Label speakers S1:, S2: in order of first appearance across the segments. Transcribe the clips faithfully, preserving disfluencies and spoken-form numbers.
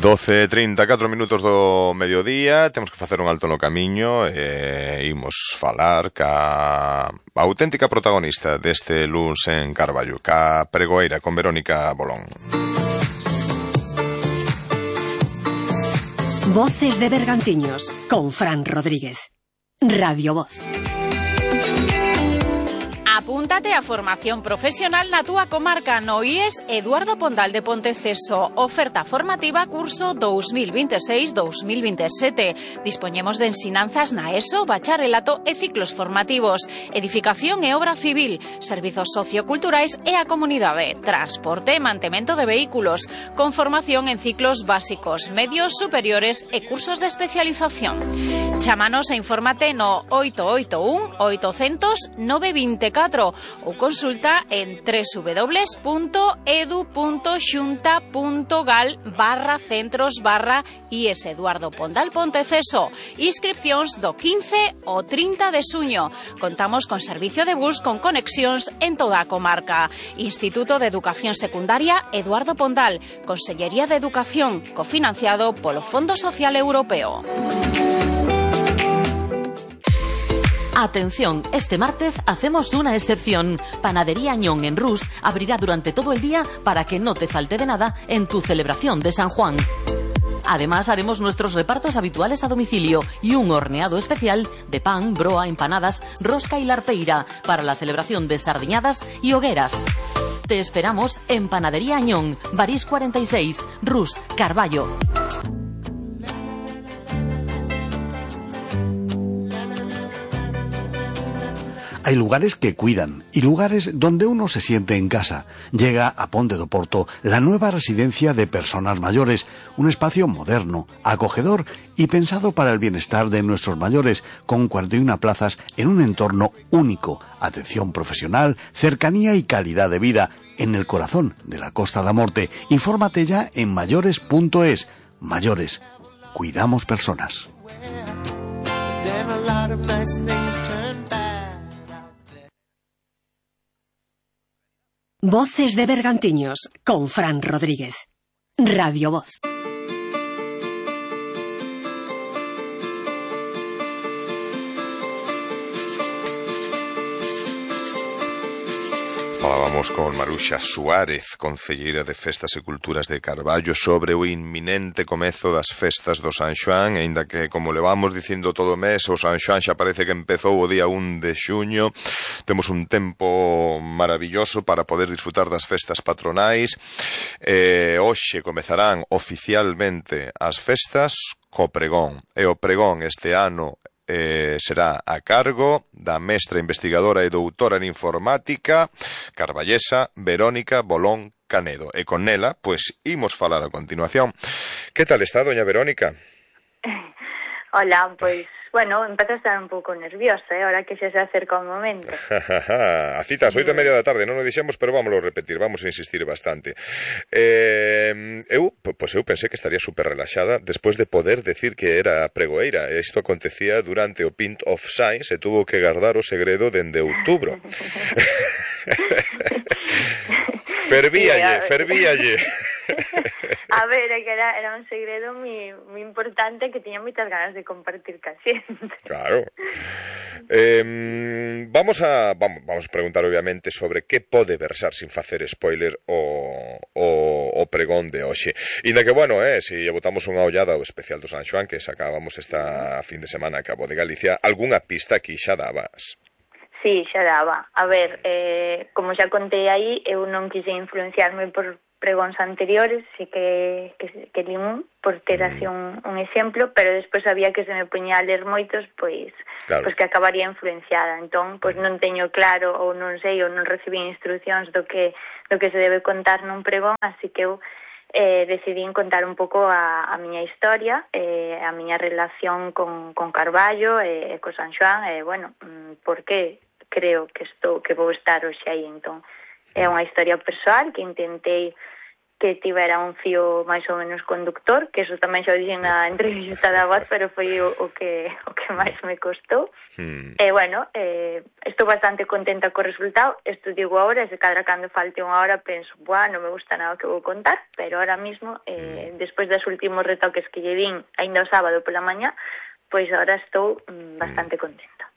S1: doce e trinta e catro minutos do mediodía, temos que facer un alto no camiño e imos falar ca auténtica protagonista deste luns en Carballo, ca pregoeira, con Verónica Bolón.
S2: Voces de Bergantiños, con Fran Rodríguez. Radio Voz.
S3: Apúntate a formación profesional na túa comarca no I E S Eduardo Pondal de Ponteceso. Oferta formativa curso dos mil veintiséis dos mil veintisiete. Dispoñemos de ensinanzas na ESO, bacharelato e ciclos formativos, edificación e obra civil, servizos socioculturais e a comunidade, transporte e mantemento de vehículos, con formación en ciclos básicos, medios superiores e cursos de especialización. Chámanos e infórmate no oito oito un oitocentos nove veinticuatro ou consulta en w w w punto edu punto xunta punto gal barra centros barra I E S Eduardo Pondal Ponteceso. Inscripcións do quince ao trinta de xuño. Contamos con servicio de bus con conexións en toda a comarca. Instituto de Educación Secundaria Eduardo Pondal. Consellería de Educación, cofinanciado polo Fondo Social Europeo.
S4: Atención, este martes hacemos una excepción. Panadería Añón en Rus abrirá durante todo el día para que no te falte de nada en tu celebración de San Juan. Además, haremos nuestros repartos habituales a domicilio y un horneado especial de pan, broa, empanadas, rosca y larpeira para la celebración de sardiñadas y hogueras. Te esperamos en Panadería Añón, Barís cuarenta y seis, Rus, Carballo.
S5: Hay lugares que cuidan y lugares donde uno se siente en casa. Llega a Ponte do Porto la nueva residencia de personas mayores, un espacio moderno, acogedor y pensado para el bienestar de nuestros mayores, con cuarenta y una plazas en un entorno único, atención profesional, cercanía y calidad de vida, en el corazón de la Costa da Morte. Infórmate ya en mayores punto es. Mayores, cuidamos personas.
S2: Voces de Bergantiños, con Fran Rodríguez. Radio Voz.
S1: Falábamos con Maruxa Suárez, concelleira de Festas e Culturas de Carballo, sobre o inminente comezo das festas do San Xoán, aínda que, como levamos dicindo todo o mes, o San Xoán xa parece que empezou o día un de xuño. Temos un tempo maravilloso para poder disfrutar das festas patronais. Eh, hoxe comezarán oficialmente as festas co pregón, e o pregón este ano Eh, será a cargo da mestra investigadora e doutora en informática carballesa Verónica Bolón Canedo, e con ela, pois, imos falar a continuación. Que tal está, doña Verónica?
S6: Hola, pois, bueno, empeza a estar un pouco nerviosa, eh, ahora que xa se acerca o momento.
S1: A cita ás oito e media da tarde, non o dixemos, pero vámoslo repetir, vamos a insistir bastante. Eh, eu, pois eu pensei que estaría super relaxada despois de poder decir que era pregoeira. Isto acontecía durante o Pint of Science e tuvo que guardar o segredo dende outubro. Fervíalle, fervíalle.
S6: A ver, é que era, era un segredo moi, moi importante que tiña moitas ganas de compartir ca xente.
S1: Claro. Eh, vamos a vamos, vamos a preguntar obviamente sobre que pode versar, sin facer spoiler, o, o, o pregón de hoxe. Inda que, bueno, eh, se lle botamos unha ollada ao especial do San Xoán que sacábamos esta fin de semana a Cabo de Galicia, algunha pista aquí xa dabas?
S6: Sí, xa daba. A ver, eh, como xa contei aí, eu non quise influenciarme por pregóns anteriores, sí que, que, que li un, por ter así un, un exemplo, pero despois sabía que se me poñía a ler moitos, pois, claro, pois que acabaría influenciada. Entón, pois non teño claro, ou non sei, ou non recibí instruccións do que, do que se debe contar nun pregón, así que eu eh, decidí contar un pouco a, a miña historia, eh, a miña relación con, con Carballo e eh, co San Xoán, e, eh, bueno, por que creo que estou, que vou estar hoxe aí. Entón, é unha historia persoal que intentei que tivera un fío máis ou menos conductor, que eso tamén xa o dixen na entrevista da voz, pero foi o, o que o que máis me costou. Hmm. E, bueno, eh, estou bastante contenta co resultado. Isto digo agora, se cadra cando falte unha hora penso, buah, non me gusta nada o que vou contar, pero ahora mismo, eh, hmm. despois dos últimos retoques que lle vin ainda o sábado pola mañá, pois agora estou mm, bastante contenta.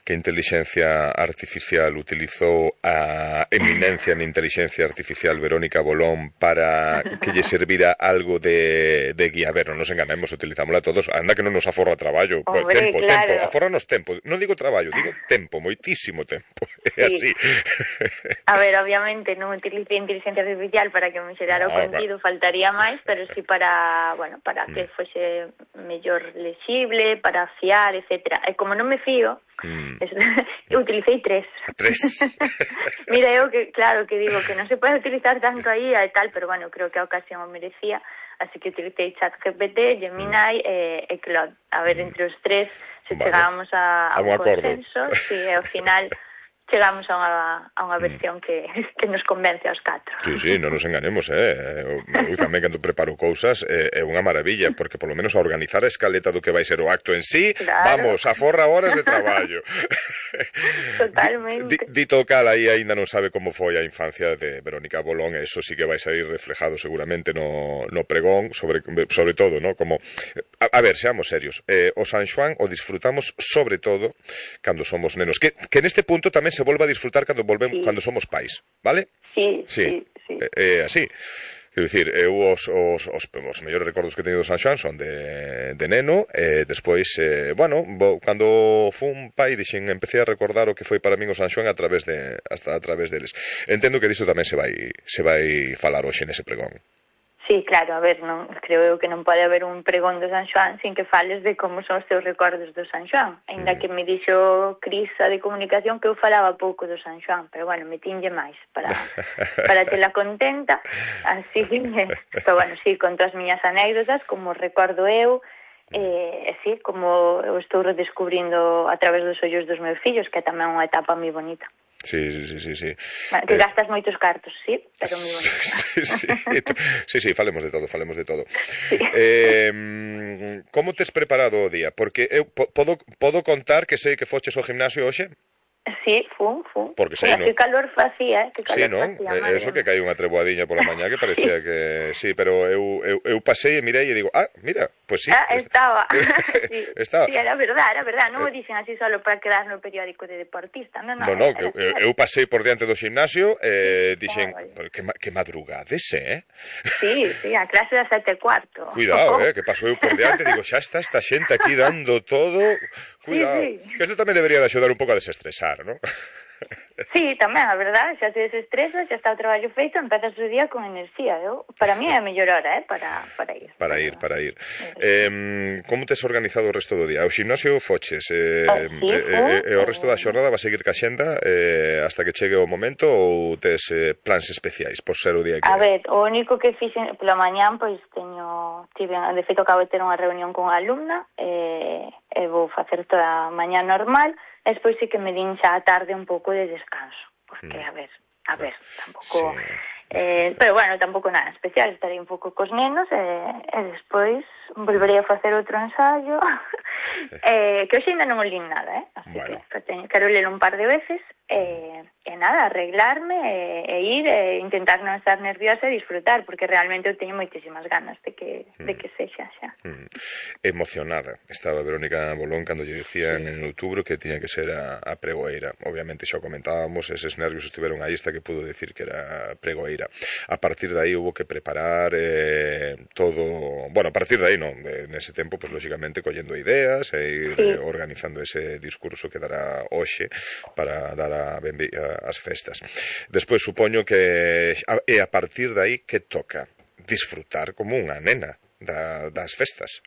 S1: Que inteligencia artificial utilizou a eminencia en inteligencia artificial Verónica Bolón para que lle servira algo de, de guía? A ver, non nos enganemos, utilizámola todos, anda que non nos aforra traballo.
S6: Hombre,
S1: tempo,
S6: claro.
S1: tempo, aforranos tempo, non digo traballo, digo tempo, moitísimo tempo, é
S6: sí.
S1: así.
S6: A ver, obviamente non utilicei inteligencia artificial para que me xerara o
S1: no,
S6: contido, claro. Faltaría máis, pero sí para, bueno, para que fose mellor lexible, para fiar, etcétera. E como non me fío, Mm. eu utilicei tres.
S1: Tres.
S6: Mira, eu que, claro, que digo que non se pode utilizar tanto aí e tal, pero bueno, creo que a ocasión o merecía, así que utilicei ChatGPT, Gemini mm. e, e Claude. A ver, entre os tres, se vale. Chegábamos a, a, a un consenso, si, e ao final chegamos a unha, a unha versión que, que nos convence aos catro.
S1: Sí, sí, non nos enganemos, eh? Eu tamén, cando preparo cousas, eh, é unha maravilla, porque polo menos a organizar a escaleta do que vai ser o acto en sí, claro. Vamos, aforra horas de traballo.
S6: Totalmente.
S1: D dito cal, aí aínda non sabe como foi a infancia de Verónica Bolón, e eso sí que vai sair reflejado seguramente no, no pregón, sobre, sobre todo, ¿no? Como, a, a ver, seamos serios, eh, o San Xoán o disfrutamos sobre todo cando somos nenos, que, que neste punto tamén se volva a disfrutar cando volvemos, sí. Cando somos pais, vale?
S6: Sí, sí, sí.
S1: sí. Eh, eh, así. Quero dicir, eu os, os, os, os mellores recordos que teño do San Xoán son de, de neno, e eh, despois, eh, bueno, bo, cando fun pai, dixen, empecé a recordar o que foi para min o San Xoán a través de, hasta a través deles. Entendo que disto tamén se vai, se vai falar hoxe nese pregón.
S6: Sí, claro, a ver, non, creo eu que non pode haber un pregón do San Xoán sin que fales de como son os teus recordos do San Xoán. Ainda mm. que me dixo Cris a de comunicación que eu falaba pouco do San Xoán, pero bueno, metinlle máis para, para tela contenta. Así que, pero bueno, sí, conto as miñas anécdotas, como recordo eu, e eh, sí, como eu estou redescubrindo a través dos ollos dos meus fillos, que é tamén unha etapa moi bonita.
S1: Sí, sí, sí, sí.
S6: Bueno, que eh... gastas moitos cartos, sí, pero moi bonito.
S1: Sí, sí, sí, sí, falemos de todo, falemos de todo. Sí. Eh, como tes preparado o día? Porque eu podo, podo contar que sei que foches ao gimnasio hoxe?
S6: Sí, fun, fun.
S1: Porque sei,
S6: non? Que calor facía, eh? Que calor
S1: sí, non?
S6: Facía,
S1: Eso que cae unha treboadiña pola mañá que parecía sí. que... Sí, pero eu, eu, eu pasei e mirei e digo, ah, mira, pues sí.
S6: Ah, estaba. sí.
S1: estaba.
S6: Sí, era verdad, era verdad. Non o dicen así solo para quedar no periódico de deportista. Non, non,
S1: no, no eu, eu pasei por diante do gimnasio e eh, dixen, ah, que, que madrugades, eh?
S6: Sí, sí, a clase das sete e cuarto.
S1: Cuidado, eh, que pasou eu por diante, digo, xa está esta xente aquí dando todo... Cuidado, sí, sí. Que isto tamén debería de axudar un pouco a desestresar, ¿no?
S6: Sí, tamén, a verdade, xa te desestresas, xa está o traballo feito, empezas o día con enerxía. Eu, para mí é a mellor hora, eh, para, para ir.
S1: Para ir, para ir. Eh, como tes organizado o resto do día? O gimnasio foches, eh,
S6: oh, sí,
S1: eh, eh, o resto da xornada va a seguir ca xenda eh, hasta que chegue o momento, ou tes eh, plans especiais por ser o día que...
S6: A ver, o único que fixen pola mañán, pois teño, tive, de feito acabo de ter unha reunión con unha alumna, e, e vou facer toda a mañá normal. Despois sí que me din xa a tarde un pouco de descanso, porque, a ver, a ver, tampouco... Sí. Eh, pero bueno, tampouco nada especial, estarei un pouco cos nenos e, e despois volverei a facer outro ensayo eh, que hoxe ainda non o lín nada, eh? Así bueno. que teño, quero ler un par de veces e, e nada, arreglarme e, e ir e intentar non estar nerviosa e disfrutar, porque realmente eu teño moitísimas ganas de que, mm. de que sexa xa.
S1: Mm. Emocionada estaba Verónica Bolón cando lle dicían en outubro que tiña que ser a, a pregoeira. Obviamente xa o comentábamos, eses nervios estiveron aí hasta que pudo decir que era pregoeira. A partir de aí hubo que preparar eh, todo, bueno, a partir de aí non, nese tempo, pues lógicamente collendo ideas e ir sí. organizando ese discurso que dará hoxe para dar a, a, as festas. Despois supoño que e a partir de aí que toca disfrutar como unha nena da, das festas.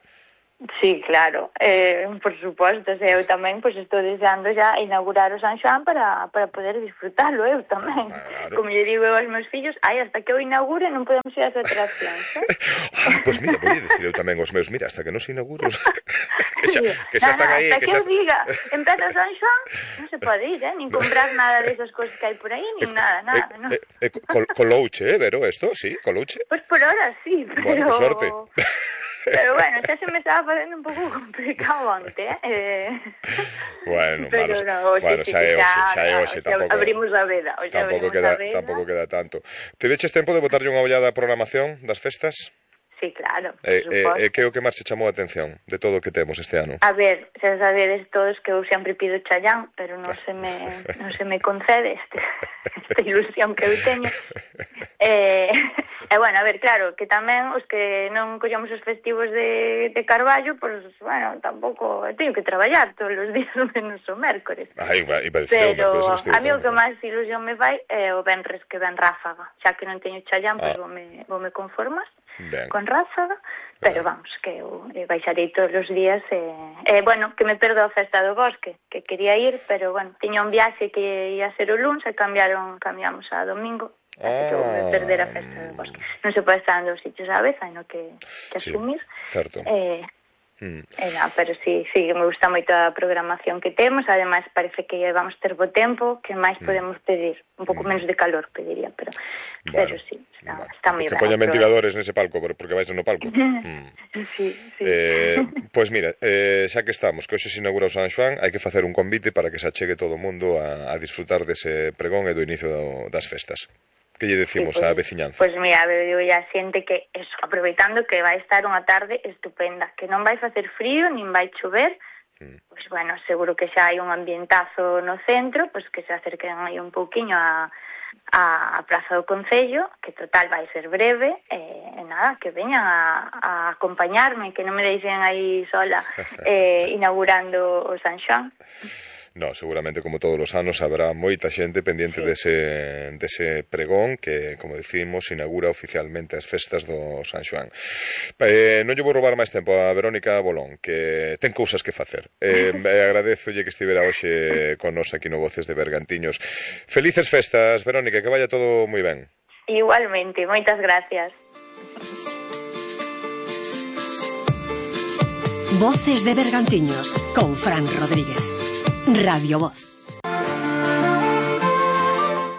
S6: Sí, claro, eh, por suposto, o sea, eu tamén pois, estou deseando já inaugurar o San Xoán para, para poder disfrutarlo eu tamén. Claro. Como lle digo eu aos meus fillos, ai, hasta que eu inaugure non podemos ir ás atraccións, eh?
S1: Ah, pois mira, vou dicir eu tamén aos meus, mira, hasta que non se inaugure que xa, que xa están aí.
S6: Hasta que,
S1: que
S6: eu
S1: xa...
S6: diga, empeza San Xoán, non se pode ir, eh? Nin comprar nada de esas cosas que hai por aí, nin nada, nada,
S1: eh,
S6: non.
S1: Eh, eh, col, colouche, eh, Vero, esto, sí, colouche.
S6: Pois por hora sí, pero...
S1: Bueno, que suerte.
S6: Pero bueno, xa se me estaba facendo un pouco complicado antes, eh?
S1: Bueno,
S6: pero
S1: malo,
S6: no, oxe,
S1: bueno,
S6: sí,
S1: xa é
S6: xa,
S1: hoxe, xa é
S6: xa,
S1: hoxe,
S6: xa
S1: tampouco.
S6: Abrimos a veda, oxe,
S1: tampouco
S6: abrimos
S1: queda,
S6: a veda.
S1: tampouco queda tanto. Te veches tempo de botarlle unha ollada á programación das festas?
S6: Sí, claro, por
S1: E eh,
S6: suposto.
S1: eh, que é o que máis che chamou a atención de todo o que temos este ano?
S6: A ver, xa sabedes todos que eu sempre pido Chayán, pero non se me non se me concede este, esta ilusión que eu teño. Eh, e bueno, a ver, claro, que tamén os que non collamos os festivos de, de Carballo, pois, pues, bueno, tampouco teño que traballar todos os días menos o mércores.
S1: Ai, iba, iba a decir,
S6: pero
S1: o
S6: a mí o que máis ilusión me vai é o venres que ven Ráfaga, xa que non teño Chayán, pois pues,
S1: ah.
S6: vou me, vou me conformar.
S1: Ben.
S6: Con Ráfaga, pero vamos, que eu baixarei todos os días e, eh, bueno, que me perdo a festa do bosque, que quería ir, pero bueno, tiña un viaxe que ia ser o luns e cambiaron, cambiamos a domingo, así ah. que vou me perder a festa do bosque. Non se pode estar en dos sitios a vez, hai no que, que asumir.
S1: Sí, certo.
S6: Eh,
S1: Hmm.
S6: Eh, no, pero sí, sí, me gusta moito a programación que temos, ademais parece que vamos ter bo tempo, que máis podemos pedir, un pouco menos de calor pediría, pero
S1: bueno,
S6: pero sí, está,
S1: bueno.
S6: está moi ben.
S1: Que poñan ventiladores nese palco, porque vais no palco.
S6: hmm. Sí, sí.
S1: Eh, pois pues mira, eh, xa que estamos, que hoxe se inaugura o San Xoán, hai que facer un convite para que se achegue todo o mundo a, a disfrutar dese pregón e do inicio do, das festas. Que lle decimos
S6: sí, pues,
S1: á veciñanza?
S6: Pois pues mira, eu ya xente que, eso, aproveitando que vai estar unha tarde estupenda, que non vai facer frío, nin vai chover, mm. pois pues, bueno, seguro que xa hai un ambientazo no centro, pois pues, que se acerquen aí un pouquiño a, a Praza do Concello, que total vai ser breve, e, e nada, que veñan a, a acompañarme, que non me deixen aí sola eh, inaugurando o San Xoán.
S1: No, seguramente como todos os anos habrá moita xente pendiente sí. dese, dese pregón que, como decimos, inaugura oficialmente as festas do San Xoán. Eh, non lle vou roubar máis tempo a Verónica Bolón, que ten cousas que facer. Eh, agradezolle que estivera hoxe con nos aquí no Voces de Bergantiños. Felices festas, Verónica, que vaya todo moi ben.
S6: Igualmente, moitas gracias.
S2: Voces de Bergantiños con Fran Rodríguez. Radio Voz.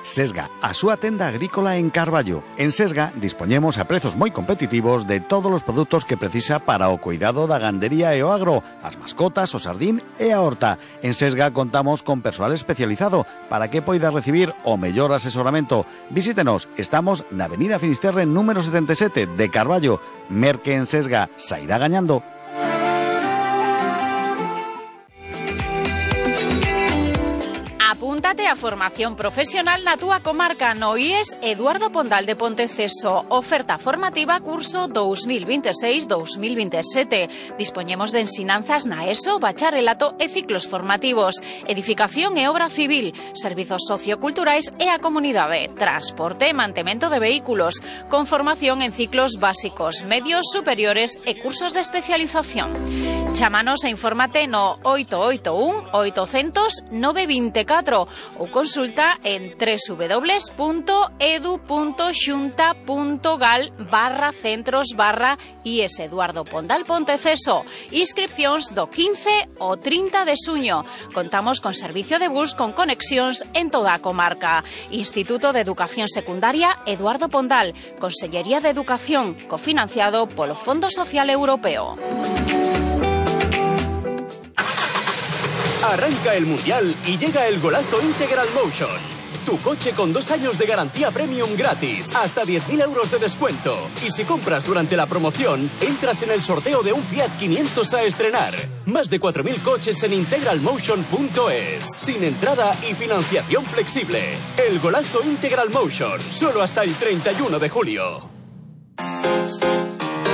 S5: Sesga, a súa tenda agrícola en Carballo. En Sesga dispoñemos a prezos moi competitivos de todos os produtos que precisa para o cuidado da gandería e o agro, as mascotas, o sardín e a horta. En Sesga contamos con persoal especializado para que poida recibir o mellor asesoramento. Visítenos, estamos na Avenida Finisterre número setenta e sete de Carballo. Merque en Sesga, sairá gañando.
S3: Apúntate a formación profesional na túa comarca no I E S Eduardo Pondal de Ponteceso. Oferta formativa curso dos mil veintiséis dos mil veintisiete. Dispoñemos de ensinanzas na ESO, bacharelato e ciclos formativos, edificación e obra civil, servizos socioculturais e a comunidade, transporte e mantemento de vehículos, con formación en ciclos básicos, medios, superiores e cursos de especialización. Chámanos e infórmate no oito oito un oitocentos nove veinticuatro ou consulta en w w w punto edu punto xunta punto gal barra centros barra I E S Eduardo Pondal Ponteceso. Inscripcións do quince ao trinta de xuño. Contamos con servicio de bus con conexións en toda a comarca. Instituto de Educación Secundaria Eduardo Pondal. Consellería de Educación, cofinanciado polo Fondo Social Europeo.
S7: Arranca el Mundial y llega el golazo Integral Motion. Tu coche con dos años de garantía premium gratis, hasta diez mil euros de descuento. Y si compras durante la promoción, entras en el sorteo de un Fiat quinientos a estrenar. Más de cuatro mil coches en integralmotion punto es. Sin entrada y financiación flexible. El golazo Integral Motion, solo hasta el treinta y uno de julio.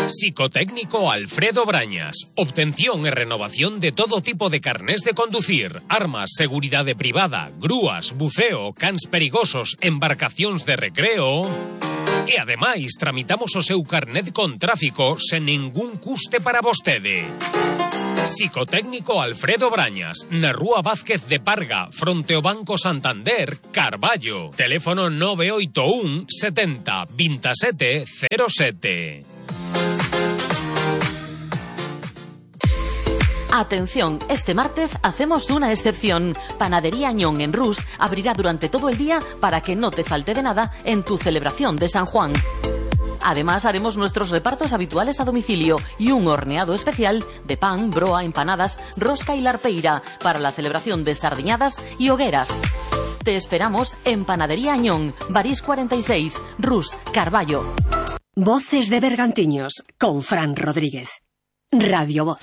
S8: Psicotécnico Alfredo Brañas. Obtención e renovación de todo tipo de carnés de conducir, armas, seguridade privada, grúas, buceo, cans perigosos, embarcacións de recreo. E ademais tramitamos o seu carnet con tráfico sen ningún custe para vostede. Psicotécnico Alfredo Brañas, na Rúa Vázquez de Parga, fronte ao Banco Santander, Carballo. Teléfono nove oito un setenta veintisiete cero sete.
S4: Atención, este martes hacemos una excepción. Panadería Añón en Rus abrirá durante todo el día para que no te falte de nada en tu celebración de San Juan. Además, haremos nuestros repartos habituales a domicilio y un horneado especial de pan, broa, empanadas, rosca y larpeira para la celebración de sardiñadas y hogueras. Te esperamos en Panadería Añón, Barís cuarenta y seis, Rus, Carballo.
S2: Voces de Bergantiños con Fran Rodríguez. Radio Voz.